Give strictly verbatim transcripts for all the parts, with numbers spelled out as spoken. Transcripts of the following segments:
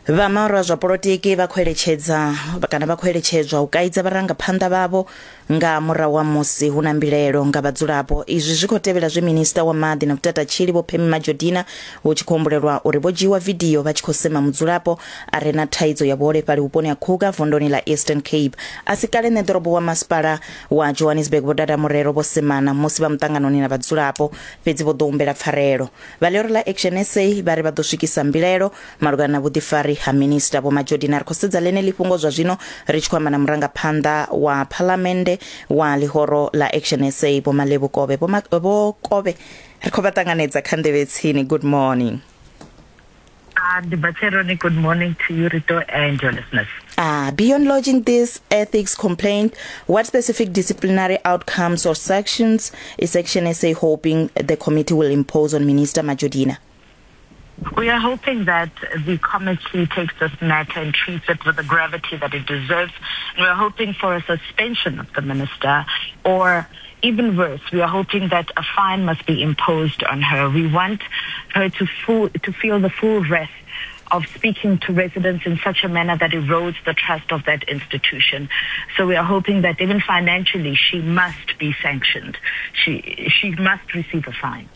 Vha mahoro a zwa polotiki vha khou eletshedza kana vha khou eletshedzwa u kaidza vharangaphanḓa vhavho nga murahu ha musi hu na mbilaelo nga vhadzulapo. Izwi zwi khou tevhela zwe minista wa maḓi na vhutatatshili Vho Pemmy Majodina hu tshi khou humbulelwa uri vho dzhiiwa vidio vha tshi khou sema mudzulapo a re na thaidzo ya vhuholefhali vhuponi ha Kruger vunduni ḽa Eastern Cape. A si kale ṋeḓorobo wa masipala wa Johannesburg Vho Dada Morero vho semana musi vha muṱanganoni na vhadzulapo, fhedzi vho ḓo humbela pfarelo. Vha ḽihoro ḽa Action S A vha ri vha ḓo swikisa mbilaelo malugana na vhuḓifari ha minista Vho Majodina. Ri khou sedza ḽeneḽi fhungo zwa zwino ri tshi khou amba na murangaphanḓa wa phalamennde wa ḽihoro ḽa Action S A Vho Malebo Kove. Vho Vho Kove, ri khou vha ṱanganedza kha Nḓevhe Tsini. Good morning. Uh, good morning to you, Rito, and your listeners. Uh, beyond lodging this ethics complaint, what specific disciplinary outcomes or sanctions is Action S A hoping the committee will impose on Minister Majodina? We are hoping that the committee takes this matter and treats it with the gravity that it deserves. And we are hoping for a suspension of the minister, or even worse, we are hoping that a fine must be imposed on her. We want her to, full, to feel the full wrath of speaking to residents in such a manner that erodes the trust of that institution. So we are hoping that even financially she must be sanctioned. She, she must receive a fine.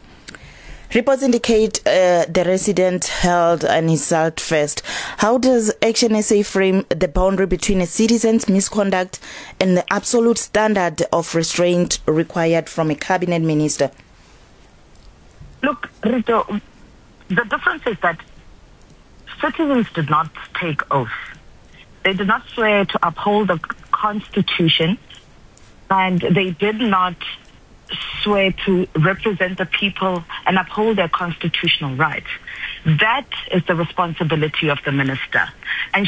Reports indicate uh, the resident held an insult first. How does Action S A frame the boundary between a citizen's misconduct and the absolute standard of restraint required from a cabinet minister? Look, Rito, the difference is that citizens did not take oath. They did not swear to uphold the Constitution, and they did not swear to represent the people and uphold their constitutional rights. That is the responsibility of the minister. And